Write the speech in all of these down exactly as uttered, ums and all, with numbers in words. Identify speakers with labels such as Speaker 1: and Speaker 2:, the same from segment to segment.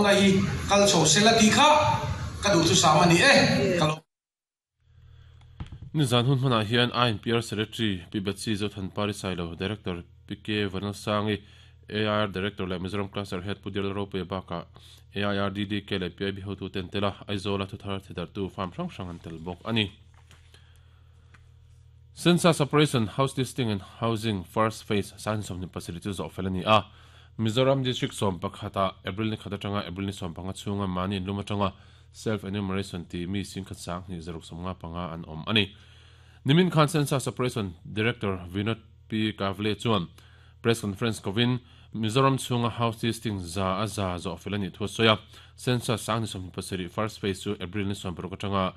Speaker 1: na hi kal chho sela ti kha ka du thu sama ni e kalo
Speaker 2: Ni zan hun hmana hian I N P R Secretary P Betsy Zothan Parisailo Director P K Vanalsangi A I R Director le Mizoram Cluster Head Pudil Rope Baka A I R D D K le P I B hotu ten tela Aizawl a thuthar thidar tu farm hrang hrang an tel bawk ani. Census Operation House Listing and Housing First Phase san somni pasiri chu zo felani a Mizoram District som pakhata April ni khata tanga April ni som panga chunga mani luma tanga self enumeration ti mi sing khat sang ni zaruk somnga panga an om ani. Nimin Khan Census Operation Director Vinod P Kavle chuan press conference kovin Mizoram chunga house listing za a za zo felani thu soya census sang ni somni pasiri first phase chu April ni som paruk tanga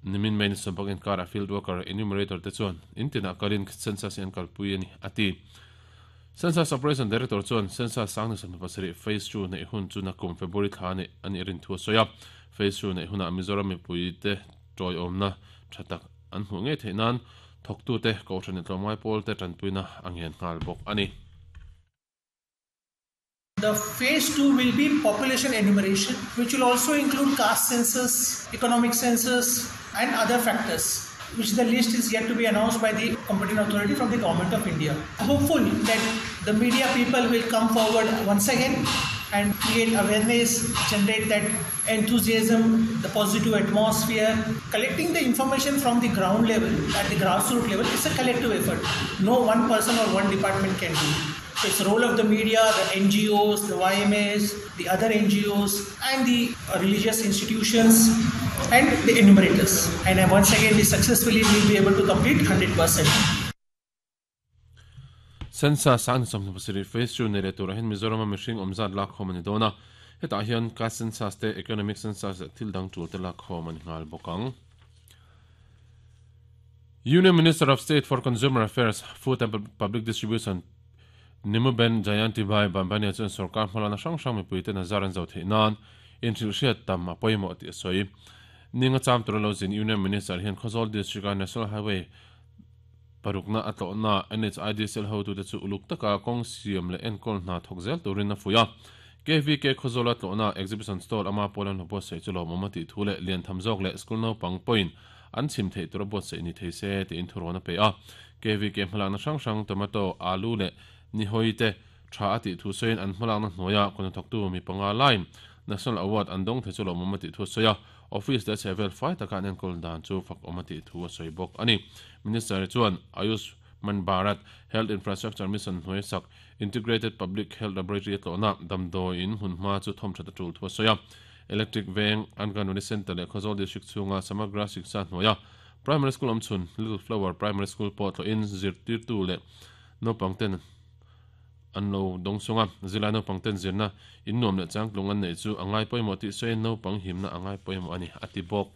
Speaker 2: nimin main sompak in kar field worker enumerator te chuan intina kalin census en kalpui ani ati. Census Operation Director chuan census sang ni somni pasiri phase two nei hun chu na kum February thla ni ani rin thu soya phase two nei huna Mizoram mi pui te toi omna thatak an hmu nge theinan thoktu te ko thani tlomai pol te tanpuina angen ngal bok ani.
Speaker 3: The phase two will be population enumeration, which will also include caste census, economic census and other factors, which the list is yet to be announced by the competent authority from the Government of India. Hopeful that the media people will come forward once again and create awareness, generate that enthusiasm, the positive atmosphere. Collecting the information from the ground level, at the grassroots level, is a collective effort. No one person or one department can do. It's the role of the media, the N G Os, the Y M As, the other N G Os and the religious institutions and the enumerators. And once again, we successfully will be able to complete one hundred percent.
Speaker 2: Census sang som pasiri phase two nere tur hin Mizoram mihring omzat lak khom ani dona hetah hian caste census te economic census thil dang tul te lak khom ani ngal bokang. Union Minister of State for Consumer Affairs, Food and Public Distribution Nimuben Jayanti Bhai Bambania chuan sarkar hmalana hrang hrang mipui te nazar an zo theih nan inthil hriat tam a pawimawh tih a sawi. Ninga cham tur lo zin Union Minister hian Khawzawl District a National Highway parukna atlawhna N H I D sel hotu te chu uluk taka kawng siam leh enkawl hna thawk zel turin a fuih a. K V K Khawzawl atlawhna exhibition stall ama pawlan lo buatsaih chu lawmawm a tih thu leh lian tham zawk leh school naupang pawhin an chhim theih tur a buatsaih ni thei se tiin thurawn a pe a. K V K hmalakna hrang hrang tomato, alu leh ni hoi te tha a tih thu sawiin an hmalakna hnuaia kawna thawktu mi panga line National Award an dawng thei chu lawmawm a tih thu sawi a. Office te chhevel fai taka an enkawl dan chu fak awm a tih thu a sawi bawk ani. Minister chuan Ayushman Bharat Health Infrastructure Mission hnuai sak Integrated Public Health Laboratory atlawhna damdawi in hmun hma chu thawm that a tul thu a sawi a. Electric Veng Anganwadi Center leh Khawzawl District chhunga Samagra Shiksha hnuaia Primary School awmchhun Little Flower Primary School pawh tlawhin zirtirtu leh naupang ten an lo dawng sunga zilai naupang ten zirna in nuam leh changtlung an nei chu angai pawimawh tih sawiin naupang himna angai pawimawh ani ati bawk.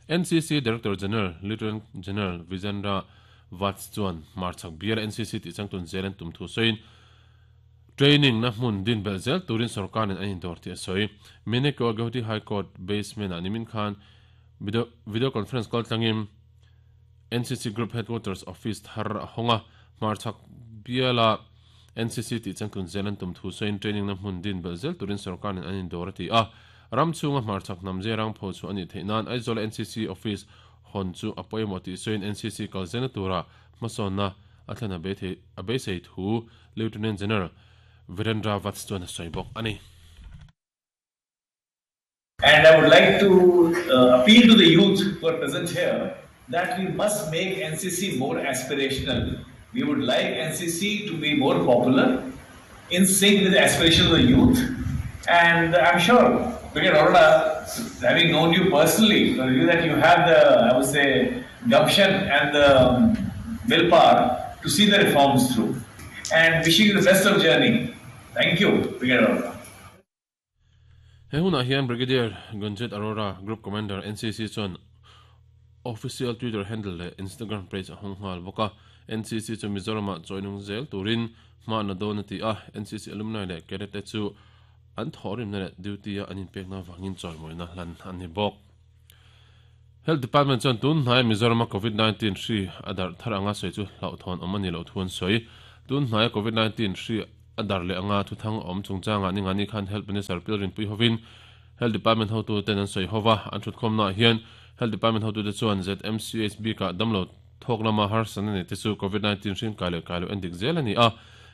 Speaker 2: N C C Director General Lieutenant General Vijendra Vats chuan marchak bial N C C tih changtun zel an tum thu sawiin training na hmun din bel zel turin sarkarin an indawr tih a sawi. Mineko Guwahati High Court basement ah nimin khan video, video conference kal tlangin N C C Group Headquarters Office thar a hawnga marchak biala N C C tih changtun zel an tum thu sawiin training na hmun din bel zel turin sarkarin an indawr a ti a. Ram chunga marchak namje rang pho chu ani theih nan Aizawl N C C office hon chu a pawimawh tih sawiin N C C kal zel tura hmasawnna a thlen a bei a beisei thu Lieutenant General Virendra Vats chuan a sawi bawk ani.
Speaker 4: And I would like to uh, appeal to the youth who are present here that we must make N C C more aspirational. We would like N C C to be more popular, in sync with the aspirations of the youth. And I'm sure, Brigadier Arora, having known you personally, you that you have the, I would say, gumption and the willpower to see the reforms through. And wishing you the best of journey. Thank you, Brigadier Arora.
Speaker 2: He huna hian Brigadier Gunjit Arora, Group Commander N C C chuan official Twitter handle le Instagram page a hawng nghal bawk a. N C C chu Mizoram joinung zel turin hma na dawn a ti a. N C C alumni leh cadet te chu an thawrim na leh duty a an inpekna wangin chawimawina hlan an ni bawk. Health Department chuan tun hnai Mizoram COVID nineteen hri a darh thar anga sawi chu hlauhthawn awm ani lo thuan sawi. Tun hnai COVID nineteen hri adar le anga thu thang om chungchanga ni ngani khan Health Minister Pilrin Pui hovin Health Department hotu ten an soi howa an thut khom na hian Health Department hotu te chuan Z M C H B ka damlo thok lama har san ani te chu covid nineteen hrin kai le kai lo endik zel ani a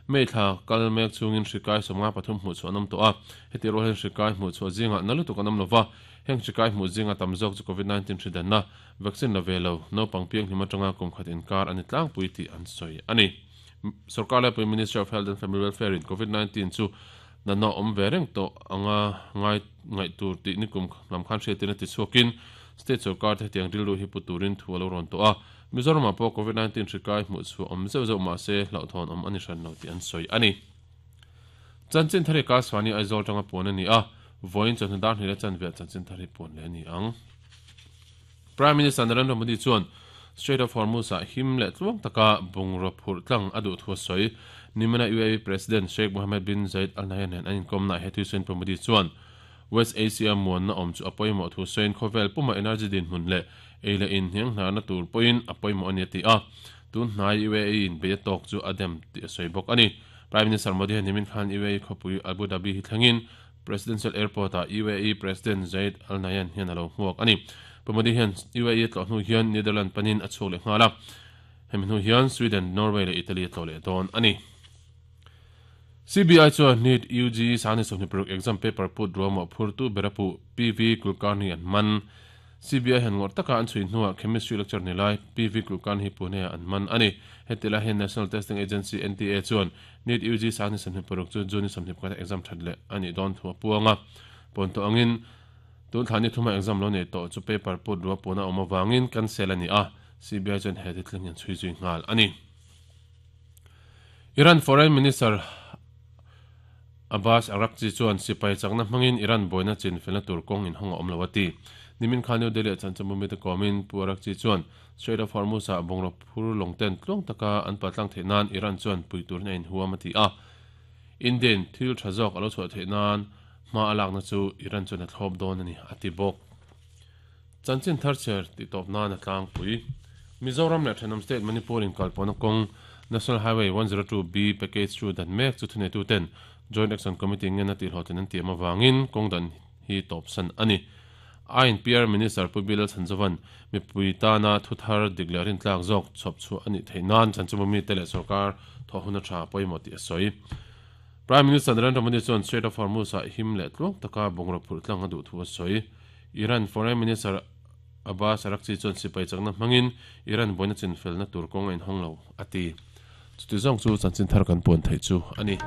Speaker 2: meitha kalmek chungin hrikai somnga pathum hmu chu anam to a heti ro hen hrikai hmu chu zinga nalu tu kanam lova heng hrikai hmu zinga tamzok chu covid nineteen hridan na vaccine la velo no pangpiang hima tanga kum khat inkar ani tlang pui ti an soi ani sarkar la Prime Minister of Health and Family Welfare in covid nineteen chu na na om vereng to anga ngai ngai tur ti nikum lamkhan hriatina ti chuakin state sarkar te tiang rilu hi puturin thualo ron to a Mizoram po covid nineteen hrikai hmu chu om zeu zeu ma se hlauhthawn om ani hran lo ti an soi ani chanchin thari ka swani Aizawl tanga pon ani a voin chon dar ni le chan ve chanchin thari pon le ani ang Prime Minister Narendra Modi chuan Strait of Hormuz a him le tluang taka bungro phur tlang adu thu soi nimana U A E President Sheikh Mohammed bin Zayed Al Nahyan an inkom na hethu sen Modi chuan West Asia muan na om chu apoimo thu soin khovel puma energy din hun le eile in hiang hna na tur poin apoimo ani ti a tun hnai U A E in be tok chu adem ti soi bok ani Prime Minister Modi nimin khan U A E khopui Abu Dhabi hi thlangin Presidential Airport a U A E President Zayed Al Nahyan hian alo hmuak ani Modi hian U A E tlo hnu hian Netherlands panin a chhuk le nghala hemi hnu hian Sweden, Norway le Italy tlo le don ani C B I chuan NEET U G sani sawhnih paruk exam paper put ruama phurtu berapu P V Kulkarni an man C B I han ngor taka an chui hnuah chemistry lecture ni lai P V Kulkarni hi Pune an man ani hetila hian National Testing Agency N T A chuan NEET U G sani sawhnih paruk chu June sawhnih pakhat exam that le ani don thua puanga ponto angin tun thani thuma exam lo nei to chu paper put ruwa puna awm awangin cancel ani a C B I chuan he titling an chui zui nghal ani Iran Foreign Minister Abbas Araghchi chuan sipai chakna hmangin Iran boina chin felna tur kawng in hawng a awm lo ati nimin khan New Delhi chan chamumi te komin pu Araghchi chuan Strait of Hormuz a bungro phur longten tluang taka an patlang theih nan Iran chuan pui tur na in huam ati a Indian thil tha zawk alo chhuah theih nan ma alak na chu Iran chuan a thlawp dawn ani ati bawk chanchin thar cher ti tawp nan a tlang pui Mizoram leh Thenawm State Manipur in kalpawna kawng National Highway one zero two B package chu dan mek chu thunei tu ten Joint Action Committee ngen a tihhlawhtlin an tiam awangin kawng dan hi tawp san ani I N P R Minister Pu Bilal Chanzovan mipui tana thuthar diklerin tlak zawk chhawp chu ani theih nan chanchumami te leh sarkar thawhuna tha pawimawh tih a sawi Prime Minister Narendra Modi chuan Strait of Hormuz a him leh tluang taka bungro phur tlang a duh thu a sawi Iran Foreign Minister Abbas Araghchi chuan sipai chakna hmangin Iran boina chin felna tur kawng a inhawng lo ati chuti zawng chu chanchin thar kan puan theih chu ani.